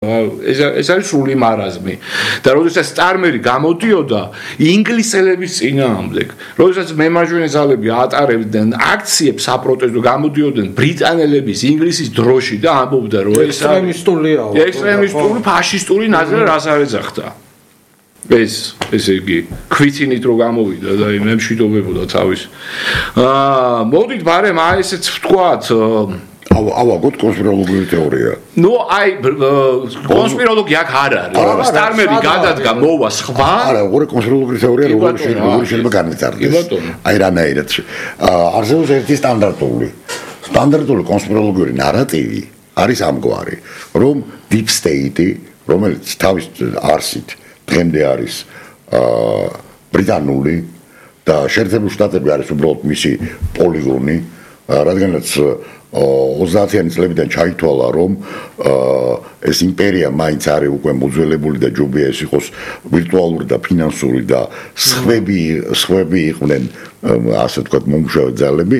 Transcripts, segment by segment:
ეს არის სრული მარაზმი და როდესაც სტარმერი გამოდიოდა ინგლისელების წინააღმდეგ როდესაც მემარჯვენე ძალები ატარებდნენ აქციებს საპროტესტო გამოდიოდნენ ბრიტანელების ინგლისის დროში და ამბობდა რომ ეს ექსტრემისტული ფაშისტური ნაზრა რას არ ეძახდა ესე იგი ქვითინით რო გამოვიდა და მე მშვიდობებოდა თავის მოდით ბარემ აი ესეც ვთქვათ ავაგოთ კონსპიროლოგიური თეორია. ნუ აი კონსპიროლოგია აქ არ არის. სტარმერი გადადგა მოვა სხვა. არა, ორი კონსპიროლოგიური თეორია როგორ შეიძლება განვითარდეს. აი რანაირად. არსებობს ერთი სტანდარტული კონსპიროლოგიური ნარატივი არის ამგვარი, რომ deep state, რომელიც თავის არსით დღემდე არის ბრიტანული და შეერთებული შტატები არის უბრალოდ მისი პოლიგონი, რადგანაც 30-იანი წლებიდან ჩაითვალა რომ ეს იმპერია მაინც არის უკვე მოძველებული და ჯობია ეს იყოს ვირტუალური და ფინანსური და სხვები იყვნენ ასე ვთქვათ მომუშავე ძალები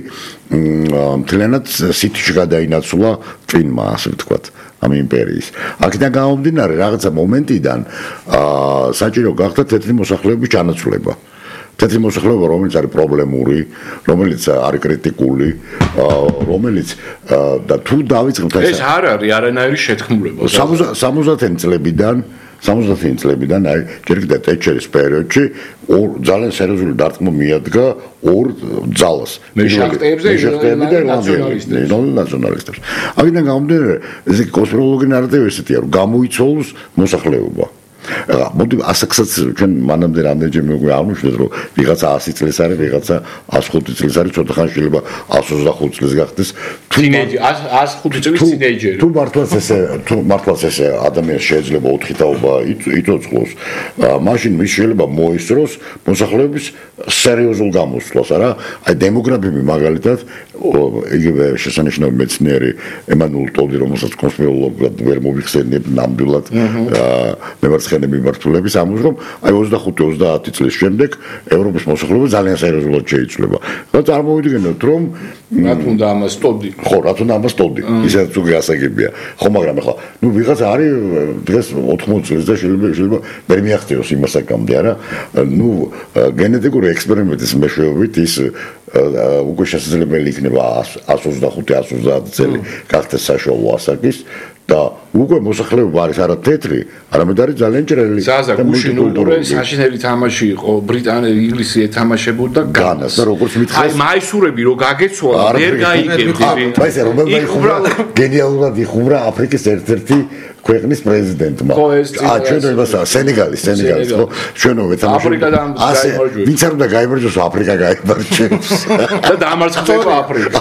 მთლიანად სიტიში გადაინაცვლა წინმა ასე ვთქვათ ამ იმპერიის აქედან გამომდინარე რაღაცა მომენტიდან საჭირო გახდა თეთრი მოსახლეობის ჩანაცვლება თეთრი მოსახლეობა რომელიც არის პრობლემური, რომელიც არის კრიტიკული, რომელიც და თუ დავიწყებთ ეს არ არის არანაირი შეთქმულება. 70-იანი წლებიდან აი ჯერ კიდევ ტეტჩერის პერიოდში ძალიან სერიოზული დარტყმა მიადგა ორ ძალას. მეშახტეებზე და ნაციონალისტებს. აქედან გამომდინარე, ეს კონსპიროლოგიური ნარატივი ესეთია, რომ გამოიცვალოს მოსახლეობა. მოდი ასაკსაც ჩვენ მანამდე რამდენჯერმე უკვე აღნიშნეთ რომ ვიღაცა 100 წლის არის ვიღაცა 105 წლის არის ცოტა ხანი შეიძლება 125 წლის გახდეს თინეიჯერი 105 წლის თინეიჯერი თუ მართლაც ესე ადამიანს შეიძლება 4 თაობა იწოწყლოს მაშინ მის შეიძლება მოისწროს მოსახლეობის სერიოზულ გამოსვლას არა აი დემოგრაფები მაგალითად იგივე შესანიშნავი მეცნიერი ემანუელ ტოდი რომელსაც კონსპიროლოგად ვერ მოიხსენიებ ნამდვილად მემარცხენე მიმართულების ამბობს რომ აი 25-30 წლის შემდეგ ევროპის მოსახლეობა ძალიან სერიოზულად შეიცვლება. და წარმოვიდგინოთ რომ რაც უნდა ამას ტოდი. ხო, რაც უნდა ამას ტოდი. ისედაც უკვე ასაგებია. ხო, მაგრამ ახლა ნუ ვიღაცა არის დღეს 80 წლის და შეიძლება ვერ მიაღწიოს იმასაკამდე, არა? ნუ გენეტიკური ექსპერიმენტის მეშვეობით ის უკვე შესაძლებელი იქნება 125-130 წელი გახდეს საშუალო ასაკის და უკვე მოსახლეობა არის არა თეთრი, არამედ არის ძალიან ჭრელი. ზაზა გუშინ ულტურე საშინელი თამაში იყო, ბრიტანელი ინგლისი ეთამაშებოდა განას. და როგორც მითხეს, აი მაისურები რო გაგეცვალა, ვერ გაიგებდი. აი ეს რომელმა იხუბრა გენიალურად იხუბრა აფრიკის ერთ-ერთი ქვეყნის პრეზიდენტმა. ჩვენებასა სენეგალის ხო? ჩვენოვე თამაშობთ. ასე ვინც არ უნდა გაიმარჯვოს, აფრიკა გაიმარჯვებს. და დამარცხდება აფრიკა.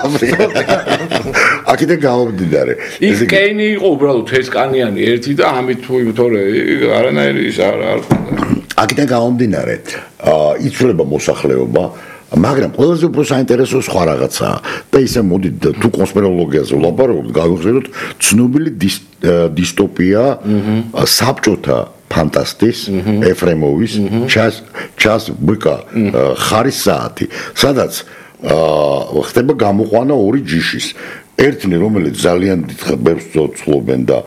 აქედან გამომდინარე. ის კეინი იყო უბრალოდ თესკანიანი ერთი და ამით თორე არანაირი ის არ აქედან გამომდინარე, იცვლება მოსახლეობა მაგრამ ყველაზე უფრო საინტერესო სხვა რაღაცაა და ისე მოდით თუ კონსპიროლოგიაზე ვლაპარაკობთ გავიხსენოთ ცნობილი დისტოპია საბჭოთა ფანტასტის ეფრემოვის ჩას ბიკა ხარის საათი სადაც ხდება გამოყვანა ორი ჯიშის ერთნი რომელიც ძალიან დიდხანს ცდილობენ და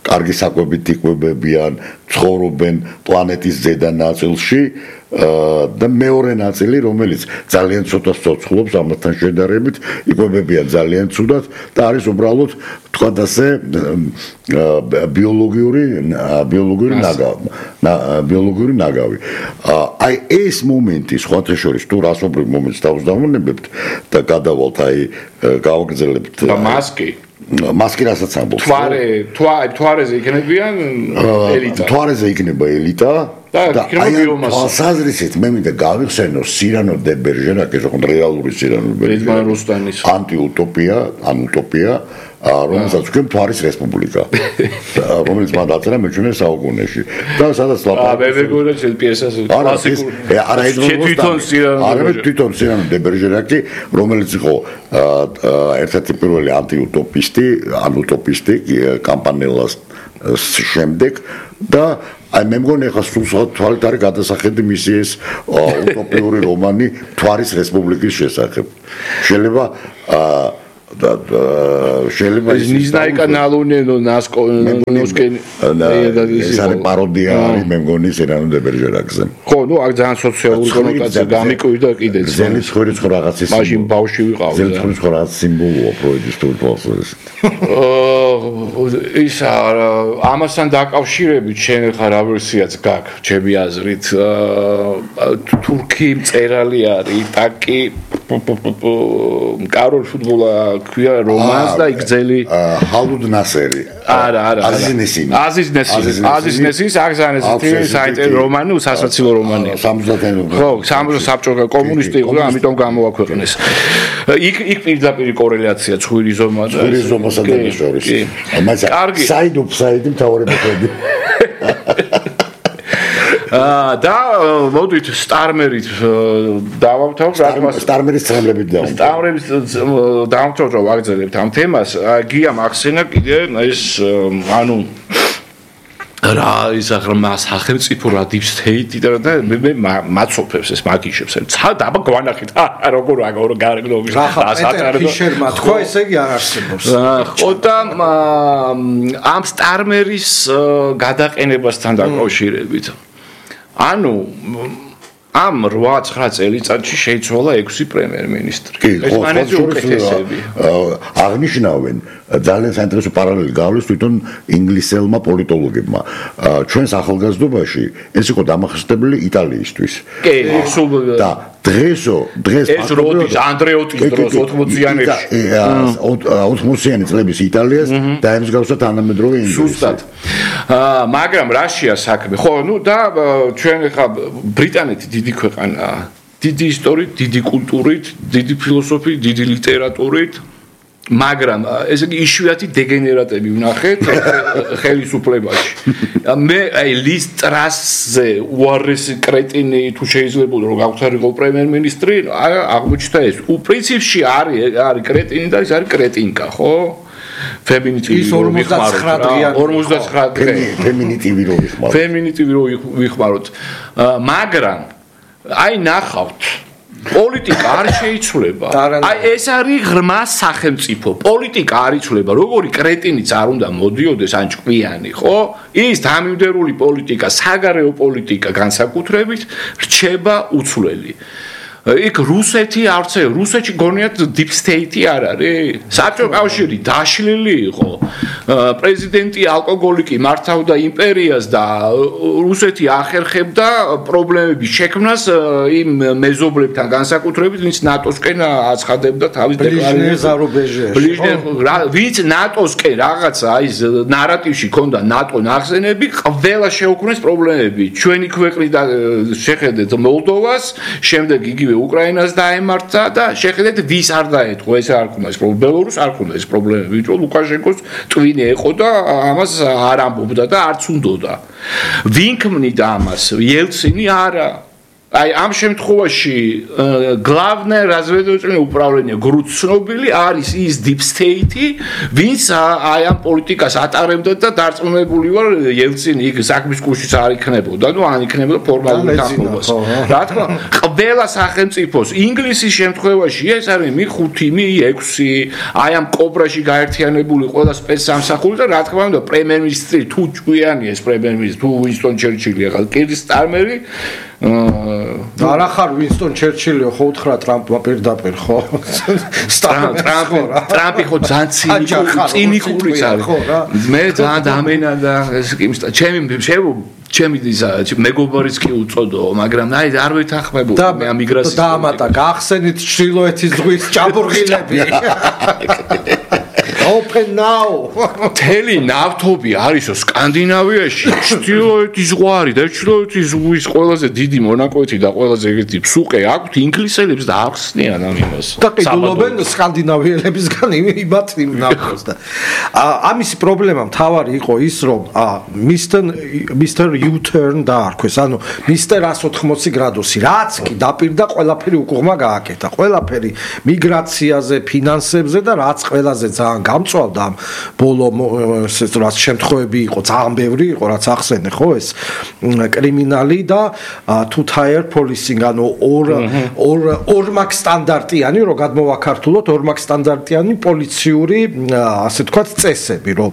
კარგი საკვებით იკვებებიან ცხოვრობენ პლანეტის ზედა ნაწილში და მეორე ნაწილი რომელიც ძალიან ცოტა ცოცხლობს ამათთან შედარებით იკვებებიან ძალიან ცუდად და არის უბრალოდ თქვა ასე ბიოლოგიური ნაგავი აი ეს მომენტი სხვათა შორის თუ რასობრივ მომენტს დავუზამონებებთ და გადავალთ აი გავაგრძელებთ მასკი რასაც ამბობს თვარეზე იქნებიან ელიტა თვარეზე იქნება ელიტა და აი თვალსაზრისით მე მინდა გავიხსენო სირანო დე ბერჟერაკის რეალური სირანო ბერჟერაკის ანტიუტოპია რომელსაც თქვენ თვარის რესპუბლიკა რომელიც მან დაწერა მე-17 საუკუნეში და სადაც ლაპარაკობს პიესას თვითონ სირანო დე ბერჟერაკი რომელიც იყო ერთ-ერთი პირველი ანტიუტოპისტი კამპანელას შემდეგ და აი მე მგონი ახლა სულ თვალით არის გადასახედი მისი ეს utopიური რომანი თვარის რესპუბლიკის შესახებ. შეიძლება შეიძლება ნიზნაი კანალონე ნასკენ ეს არის პაროდია არის მე მგონი სერანო დე ბერჟერაკზე ხო ნუ აქ ძალიან სოციალური კონოტაცია გამიკვირდა კიდეც ზელის ხურიც ხო რაღაცის მაშინ ბავშვი ვიყავ ზელის ხურიც ხო რაღაც სიმბოლოა ფროიდის თურფოს ის ამასთან დაკავშირებით შენ ხარ რა ვერსიაც გაქვს ჩემი აზრით თურქი მწერალი არის ტაკი კაროლ ფუტბოლა ქვია რომანს და იგზელი ჰალუდ ნასერი არა აზიზ ნესის აღზანეს საინტერესო რომანი სასაცილო რომანია 70-იანი ხო საბჭოთა კომუნისტი იყო და ამიტომ გამოაქვეყნეს იქ პირდაპირ კორელაცია ცხვირი ზომასა და მის შორის კარგი საიდი მთავრებები და მოდით სტარმერით დავამთავროთ სტარმერის ცნობებით დავამთავროთ ვაგრძელებთ ამ თემას გიამ ახსენა კიდე ეს ანუ რა ის აღრმა სახელმწიფო რა deep state და მე მაცოფებს ეს მაგიშებს დაბა გვანახით როგორ გარეგნობის ფიშერმა თქვა ესე იგი არ არსებობს ხო და ამ სტარმერის გადაყენებასთან დაკავშირებით ანუ ამ 8-9 წელიწადში შეიცვალა 6 პრემიერ-მინისტრი. ეს მანეზე უკეთესები. აღნიშნავენ ძალიან საინტერესო პარალელი გავლეს თვითონ ინგლისელმა პოლიტოლოგებმა. ჩვენს ახალგაზრდობაში ეს იყო დამახასიათებელი იტალიისთვის. კი, და დღეს ეს როდის ანდრეოტის დროს 80-იანებში 80-იანი წლების იტალიას დაემსგავსა თანამედროვე ინგლისს. სუსტად. მაგრამ რაშია საქმე? ხო, ნუ და ჩვენ ხა ბრიტანეთი დიდი ქვეყანაა. დიდი ისტორიით, დიდი კულტურით, დიდი ფილოსოფიით, დიდი ლიტერატურით. მაგრამ ესე იგი იშვიათი დეგენერატები ვნახეთ ხელისუფლებაში. მე აი ლისტრასზე უარესი კრეტინი თუ შეიძლება რომ გავხსარიყო პრემიერ-მინისტრი, აღმოჩნდა ეს. პრინციპში არის კრეტინი და ეს არის კრეტინკა, ხო? ფემინიტივი რომ ვიხმაროთ. 49 ფემინიტივი რომ ვიხმაროთ. მაგრამ აი ნახავთ პოლიტიკა არ შეიცვლება. აი ეს არის ღრმა სახელმწიფო. პოლიტიკა არ იცვლება. როგორი კრეტინიც არ უნდა მოდიოდეს ან ჭკვიანი, ხო? ის დამიმდერული პოლიტიკა, საგარეო პოლიტიკა განსაკუთრებით რჩება უცვლელი. იქ რუსეთი არც რუსეთში გონიათ deep state არ არის. საბჭოთა კავშირი დაშლილი იყო. პრეზიდენტი ალკოგოლიკი მართავდა იმპერიას და რუსეთი ახერხებდა პრობლემების შექმნას იმ მეზობლებთან განსაკუთრებით, ვინც ნატოსკენ აცხადებდა თავის დეკლარაციას. ვინც ნატოსკენ რაღაცა აი ნარატივში ქონდა ნატო ნახსენები, ყველა შეუქმნეს პრობლემები. ჩვენი ქვეყნიდან შეხედეთ მოლდოვას, შემდეგ იგივე უკრაინას დაემართა და შეხედეთ ვის არ დაეთქვა ეს არ ქონდა ეს ბელორუსს არ ქონდა ეს პრობლემები ვინც ლუკაშენკოს ტვინი ეყო და ამას არ ამბობდა და არც უნდოდა ვინ ქმნიდა ამას იელცინი არა აი ამ შემთხვევაში главное разведывательное управление გრუც ცნობილი არის ის deep state-ი ვინც აი ამ პოლიტიკას ატარებდა და დარწმუნებული ვარ იელცინი იქ საქმის კუშიც არ იქნებოდა ნუ ან იქნებოდა ფორმალურ თანხმობას რა თქმა ყველა სახელმწიფოს ინგლისის შემთხვევაში ეს არის მე-5 მე-6 აი ამ კობრაში გაერთიანებული ყველა სპეცსამსახური და რა თქმა უნდა პრემიერ-მინისტრი თუ ჭკვიანია ეს პრემიერ-მინისტრი თუ უინსტონ ჩერჩილი ახლა კირ სტარმერი არა ხარ უინსტონ ჩერჩილიო ხო უთხრა ტრამპმა პირდაპირ ხო ტრამპი ხო ძალიან ცინიკურიც არის მე ძალიან დამენა და ეს კი ჩემი მეგობარიც კი უწოდო მაგრამ აი არ ვეთანხმებოდი მე ამ მიგრაციის დაამატა გახსენით ჩრდილოეთის ზღვის ჭაბურღილები Open now. თელი ნავთობი არისო სკანდინავიაში, ჩრდილოეთის ზღვარი და ჩრდილოეთის ზღვის ყველაზე დიდი მონაკვეთი და ყველაზე ეგეთი ფსუყე აქვთ ინგლისელებს და ახსნიან ამ იმას. და ყიდულობენ სკანდინავიელებისგან იმათ იმ ნავთობს და ამისი პრობლემა მთავარი იყო ის რომ Mr. U-turn დაარქვეს, ანუ Mr. 180 გრადუსი, რაც კი დაპირდა ყველაფერი უკუღმა გააკეთა, ყველაფერი მიგრაციაზე, ფინანსებზე და რაც ყველაზე ძალიან დამწვალდა ამ ბოლო რაც შემთხვევები იყო ძალიან ბევრი იყო რაც ახსენე ხო ეს კრიმინალი და two-tier policing ანუ ორ მაგ სტანდარტიანი რო გადმოვაქართულოთ ორ მაგ სტანდარტიანი პოლიციური ასე თქვათ წესები რომ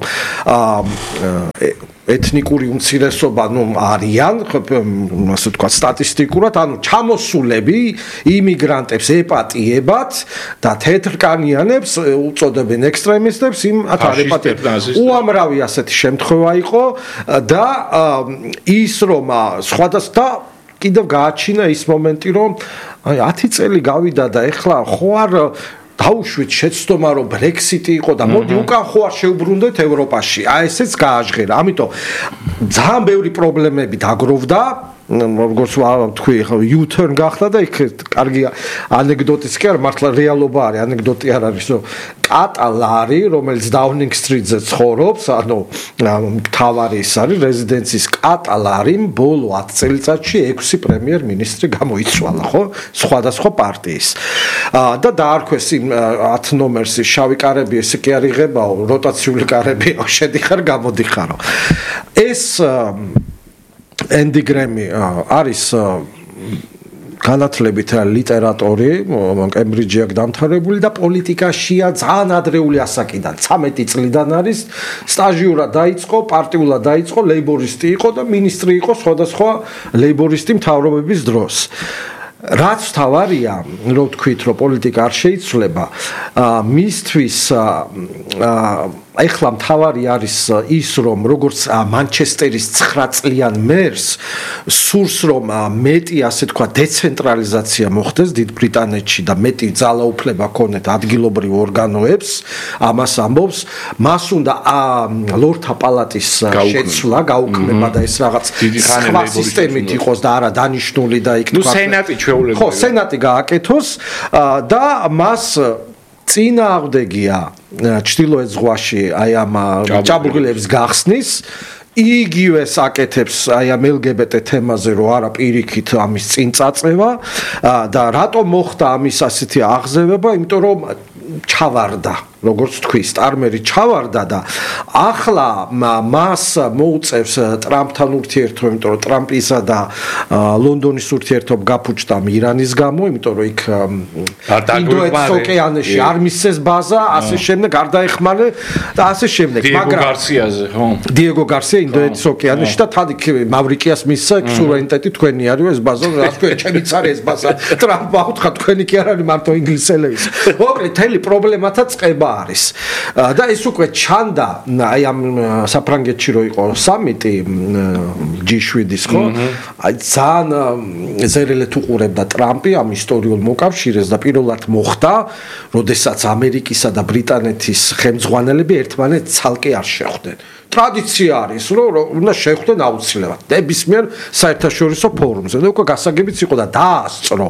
ეთნიკური უმცირესობა არიან ასე თქვა სტატისტიკურად ანუ ჩამოსულები იმიგრანტებს ეპატიებად და თეთრკანიანებს უწოდებენ ექსტრემისტებს იმ ათარეპატიებს უამრავი ასეთი შემთხვევა იყო და ის რომ სხვადასხვა კიდევ გააჩინა ის მომენტი რომ 10 წელი გავიდა და ეხლა ხო არ დაუშვით შეცდომა რომ ბრექსიტი იყო და მოდი უკან ხო არ შევბრუნდეთ ევროპაში ესეც გააჟღერა ამიტომ ძალიან ბევრი პრობლემები დაგროვდა როგორც თქვი U-turn გახდა და იქ კარგი ანეკდოტიც კი არ მართლა რეალობა არის ანეკდოტი არ არის რომ კატალარი რომელიც Downing Street-ზე ცხოვრობს ანუ მთავარი ის არის რეზიდენციის კატალარი ბოლო 10 წელიწადში 6 პრემიერ-მინისტრი გამოიცვალა ხო სხვადასხვა პარტიის და დაარქვეს იმ 10 ნომერს შავი კარები ესე კი არ იღებაო როტაციული კარებია შედიხარ გამოდიხარო ეს Andy Graham არის განათლებით ლიტერატორი, კემბრიჯი აქვს დამთავრებული და პოლიტიკაშია ძალიან ადრეული ასაკიდან, 13 წლიდან არის, სტაჟიურად დაიწყო, პარტიულად დაიწყო, ლეიბორისტი იყო და მინისტრი იყო სხვადასხვა ლეიბორისტი მთავრობების დროს. რაც თავარია, რომ თქვით, რომ პოლიტიკა არ შეიცვლება, მისთვის ეხლა მთავარი არის ის რომ როგორც მანჩესტერის 9 წლიან მერს სურს რომ მეტი ასე თქვა დეცენტრალიზაცია მოხდეს დიდ ბრიტანეთში და მეტი ძალაუფლება ქონეთ ადგილობრივ ორგანოებს ამას ამბობს მას უნდა ლორდთა პალატის შეცვლა გაუქმება და ეს რაღაც სხვა სისტემით იყოს და არა დანიშნული და იქ თქვა სენატი ჩვეულებრივ ხო სენატი გააკეთოს და მას წინააღმდეგია ჩtildeოეთ ზღვაში აი ამ ჭაბურღილების გახსნის იგივე საკეთებს აი ამ LGBT თემაზე რო არა პირიქით ამის წინ წაწევა და რატომ მოხდა ამის ასეთი აღზევება იმიტომ რომ ჩავარდა როგორც თქვი სტარმერი ჩავარდა და ახლა მას მოუწევს ტრამპთან ურთიერთობა იმიტომ რომ ტრამპისა და ლონდონის ურთიერთობა გაფუჭდა irānis გამო იმიტომ რომ იქ ინდოეთის ოკეანეში არ მისცეს ბაზა ასე შემდეგ არ დაეხმარე და ასე შემდეგ მაგრამ გარსიაზე ხო დიეგო გარსია ინდოეთის ოკეანეში და თან იქ მავრიკიას მისცა სუვერენიტეტი თქვენი არის ეს ბაზა რაც თქვენ ჩემიც არის ეს ბაზა ტრამპმა უთხრა თქვენი კი არ არის მარტო ინგლისელების მოკლედ თელი პრობლემათა წყება არის და ეს უკვე ჩანდა აი ამ საფრანგეთში რო იყო სამიტი G7-ის ხო აი ძალიან ზერელეთ უყურებდა ტრამპი ამ ისტორიულ მოკავშირეს და პირველად მოხდა როდესაც ამერიკისა და ბრიტანეთის ხელმძღვანელები ერთმანეთს ცალკე არ შეხვდნენ ტრადიცია არის რომ უნდა შეხვდნენ აუცილებლად ნებისმიერ საერთაშორისო ფორუმზე და უკვე გასაგებიც იყო და დაასწრო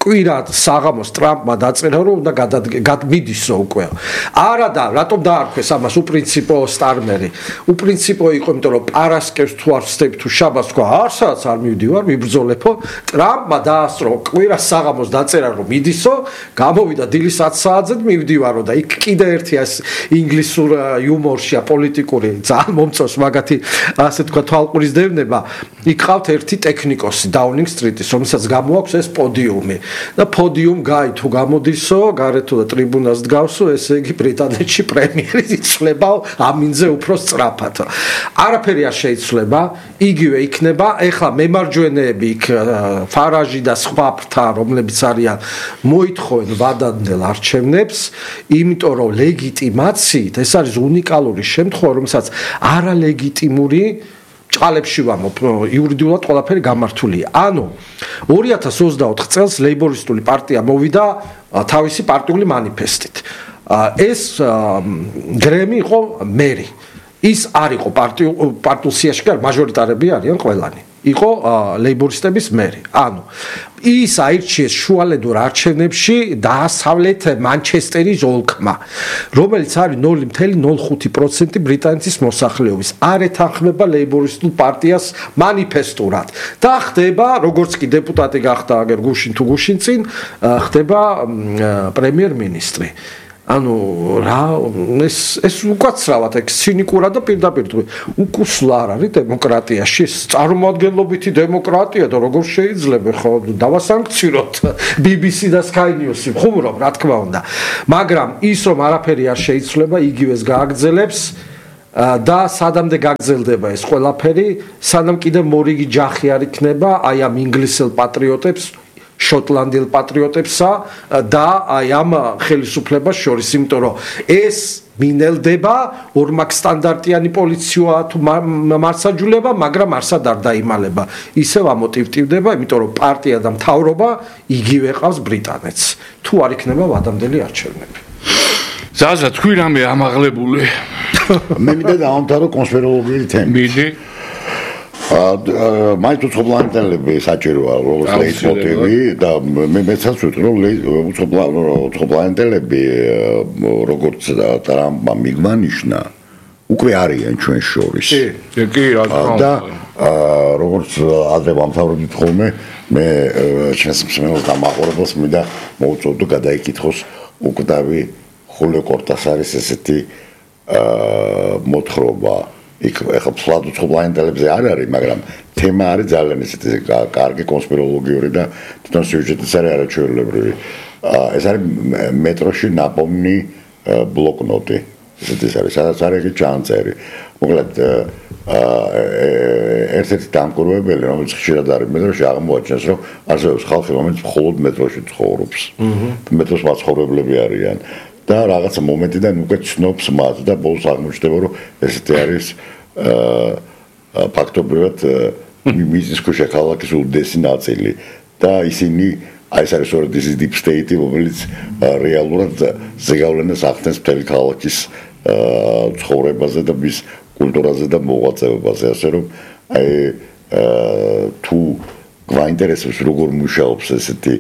კვირად საღამოს ტრამპმა დაწერა რომ უნდა გადმიდისო უკვე არა და რატომ დაარქვეს ამას უპრინციპო სტარმერი უპრინციპო იყო იმიტომ რომ პარასკევს თუ არ ვსდები თუ შაბათს თქვა არსაც არ მივდივარ მიბრძოლებო ტრამპმა დაასწრო კვირას საღამოს დაწერა რომ მიდისო გამოვიდა დილის 10 საათზე მივდივარო და იქ კიდე ერთი ეს ინგლისურ იუმორშია პოლიტიკური ძალიან მომწონს მაგათი ასე თქვა თვალყურის დევნება იქ ყავთ ერთი ტექნიკოსი Downing Street-ის რომელსაც გამოაქვს ეს პოდიუმი და პოდიუმ გაი თუ გამოდისო, გარეთო და ტრიბუნას დგავსო, ესე იგი ბრიტანეთში პრემიერი იცვლება ამინზე უფრო სწრაფად. არაფერი არ შეიცვლება, იგივე იქნება, ეხლა მემარჯვენეები იქ ფარაჟი და სხვა ფრთა, რომლებიც არიან მოითხოვენ ვადამდელ არჩევნებს, იმიტომ რომ ლეგიტიმაციით ეს არის უნიკალური შემთხვევა, რომელსაც არალეგიტიმური ჭალებში ვამობ იურიდიულად ყველაფერი გამართულია. ანუ 2024 წელს ლეიბორისტული პარტია მოვიდა თავისი პარტიული მანიფესტით. ეს გრემი იყო მერი. ის არ იყო პარტიულ სიაში, კი არა, მაჟორიტარები არიან ყველანი. იყო ლეიბორისტების მერი. ანუ ის აირჩიეს შუალედურ არჩევნებში დასავლეთ მანჩესტერის ოლქმა, რომელიც არის 0.05% ბრიტანეთის მოსახლეობის. არ ეთანხმება ლეიბორისტულ პარტიას მანიფესტურად და ხდება, როგორც კი დეპუტატი გახდა აგერ გუშინ თუ გუშინ წინ, ხდება პრემიერ-მინისტრი. ანუ რა ეს უკაცრავად ეგ ცინიკურად და პირდაპირ უკუსლა არ არის დემოკრატიაში წარმოადგენლობითი დემოკრატია და როგორ შეიძლება ხო დავასანქციროთ BBC და Sky News-ი ხუმრობ რა თქმა უნდა მაგრამ ის რომ არაფერი არ შეიძლება იგივეს გააგრძელებს და სადამდე გაგრძელდება ეს ყველაფერი სანამ კიდე მორიგი ჯახი არ იქნება აი ამ ინგლისელ პატრიოტებს შოტლანდიელ პატრიოტებსა და აი ამ ხელისუფლებას შორის იმიტომ რომ ეს მინელდება ორმაგ სტანდარტიანი პოლიციაა თუ მარსაჯულება მაგრამ არსად არ დაიმალება ისევ ამოტივტივდება იმიტომ რომ პარტია და მთავრობა იგივე ყავს ბრიტანეთს თუ არ იქნება ვადამდელი არჩევნები ზაზა თქვი რამე ამაღლებული მე მინდა დავამთავრო კონსპიროლოგიური თემით მიდი მაინც უცხოპლანეტელები საჭიროა როგორც ლეიტმოტივი და მე მეცაც ვიტყვი რომ უცხოპლანეტელები როგორც ტრამპმა მიგმანიშნა უკვე არიან ჩვენ შორის კი რა თქმა უნდა და როგორც ადრე ვამთავრებდით ხოლმე მე ჩვენს მსმენელს დამაყურებელს მინდა მოუწოდო გადაიკითხოს უკვდავი ხულიო კორტასარის ესეთი მოთხრობა იქ ახლა ფლად უცხოპლანეტელებზე არ არის, მაგრამ თემა არის ძალიან ესეთი კარგი კონსპიროლოგიური და თვითონ სიუჟეტიც არის არაჩვეულებრივი. ეს არის მეტროში ნაპოვნი ბლოკნოტი. ესეთი არის, სადაც არის ეგ ჩანწერი. მოკლედ ერთ-ერთი დამკვირვებელი, რომელიც ხშირად არის მეტროში აღმოაჩენს, რომ არსებობს ხალხი, რომელიც მხოლოდ მეტროში ცხოვრობს. მეტროს მაცხოვრებლები არიან. და რაღაცა მომენტიდან უკვე ცნობს მათ და ბოლოს აღმოჩნდება რომ ესეთი არის ფაქტობრივად მიწისქვეშა ქალაქის უდიდესი ნაწილი და ისინი აი ეს არის სწორედ ის deep state-ი რომელიც რეალურად ზეგავლენას ახდენს მთელი ქალაქის ცხოვრებაზე და მის კულტურაზე და მოღვაწეობაზე ასე რომ აი თუ გვაინტერესებს როგორ მუშაობს ესეთი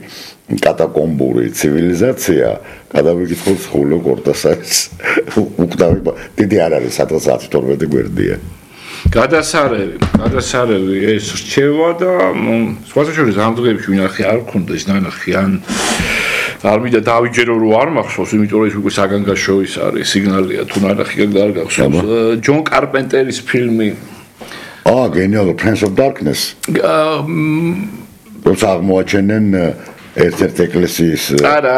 კატაკომბური ცივილიზაცია გადავიკითხოთ ხულიო კორტასარის უკდავი დიდი არ არის სადღაც 10-12 გვერდია გადასარევი ეს რჩევა და სხვათა შორის ამ დღეებში ვინახე არ მქონდა ის ნანახი ან არ მინდა დავიჯერო რომ არ მახსოვს იმიტომ რომ ეს უკვე საგანგაშოის არის სიგნალია თუ ნანახი არ გახსოვს ჯონ კარპენტერის ფილმი genial Prince of Darkness როცა აღმოაჩენენ ერთ-ერთ ეკლესიის არა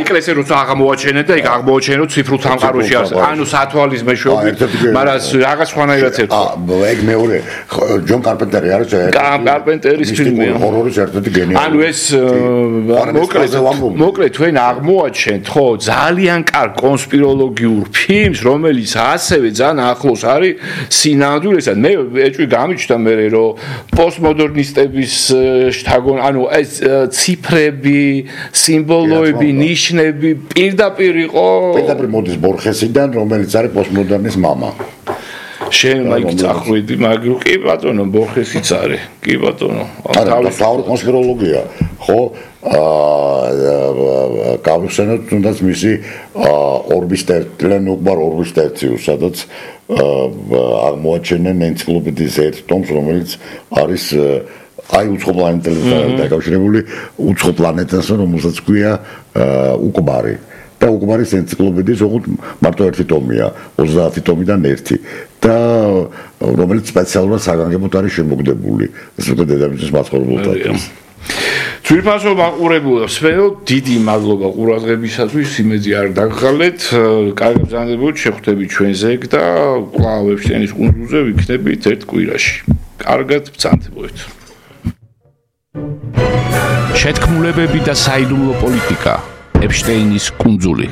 ეკლესია როცა აღმოაჩენენ და იქ აღმოაჩენენ რომ ციფრულ სამყაროში არის ანუ სათვალის მეშვეობით მაგრამ რაღაც სხვანაირად ერთო ეგ მეორე ჯონ კარპენტერი არის კარპენტერის ფილმი ჰორორის ერთ-ერთი გენიალური ანუ ეს მოკლედ თქვენ აღმოაჩენთ ხო ძალიან კარგ კონსპიროლოგიურ ფილმს რომელიც ასევე ძალიან ახლოს არის სინამდვილესთან მე ეჭვი გამიჩნდა მე რომ პოსტმოდერნისტების შთაგონ ანუ ეს ციფრები, სიმბოლოები, ნიშნები პირდაპირ იყო. პირდაპირ მოდის ბორხესიდან, რომელიც არის პოსტმოდერნის мама. შენ მაინც წახვიდი, მაგრამ კი ბატონო, ბორხესიც არის. კი ბატონო. თავის კონსპიროლოგია, ხო? გავიხსენოთ თუნდაც მისი ორბის ტერციუს, სადაც აღმოაჩენენ ენციკლოპედიის ერთ ტომს, რომელიც არის აი უცხოპლანეტელებთან დაკავშირებული უცხოპლანეტას რომელსაც ქვია უკბარი და უკბარის ენციკლოპედიის ოღონდ მარტო ერთი ტომია 30 ტომიდან ერთი და რომელიც სპეციალურად საგანგებოდ არის შემოგდებული ეს უკვე დედამიწის მაცხოვრებელთათვის ძვირფასო მაყურებლებს დიდი მადლობა ყურადღებისათვის იმედი არ დაგხალეთ კარგი ბრძანებულით შეხვდებით ჩვენზე და კვლავ ეფშტეინის კუნძულზე ვიქნებით ერთ კვირაში კარგად ბრძანდებოდეთ შეთქმულებები და საიდუმლო პოლიტიკა ეფშტეინის კუნძული